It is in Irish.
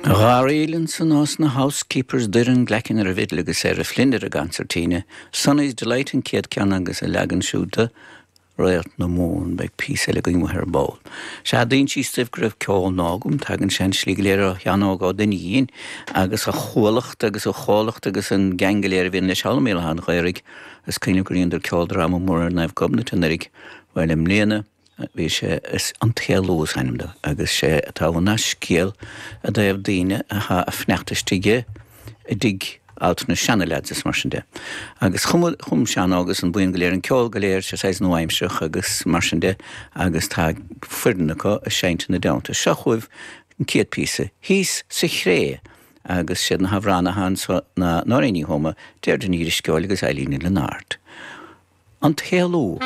Gharraíl ansan ós na Housekeepers, Doireann Glackin ar an bhfidil agus Sarah Flynn ar an gconsairtíne. Sonny's Delight an chéad ceann agus a leagan siúd de Réalt na Mumhan. Beidh píosa eile againn uaithi ar ball. Sea, d'insíos daoibh go raibh ceol nua agam. Tagann sé an slí go léir ó Sheán Óg Ó Duinnín agus a chuallacht agus a chomhlacht agus an geaing go léir a bhíonn leis thall i mBéal Átha an Ghaorthaidh. Is cuimhin liom gur dheineadar ceoldráma mór ar Naomh Gobnait anuraidh. Bhuel, i mbliana, Bhí sé, is An tÉalú is ainm dó, agus sé atá ann ná scéal i dtaobh daoine athá a fanacht istigh i dtigh altranais seana-leaids is mar sin de. Agus chum, chum Seán Óg agus an buíon go léir an ceol go léir, sé saghas nua-aimsearach agus mar sin de, agus tá foireann acu a seinnt ina dteannta. Seo chugaibh an chéad píosa, Thíos sa Chré, agus siad na hamhránaithe anso ná Nóirín Ní Thuama, Deirdre Ní Drisceoil agus Eilín Ní Lionáird. An tÉalú.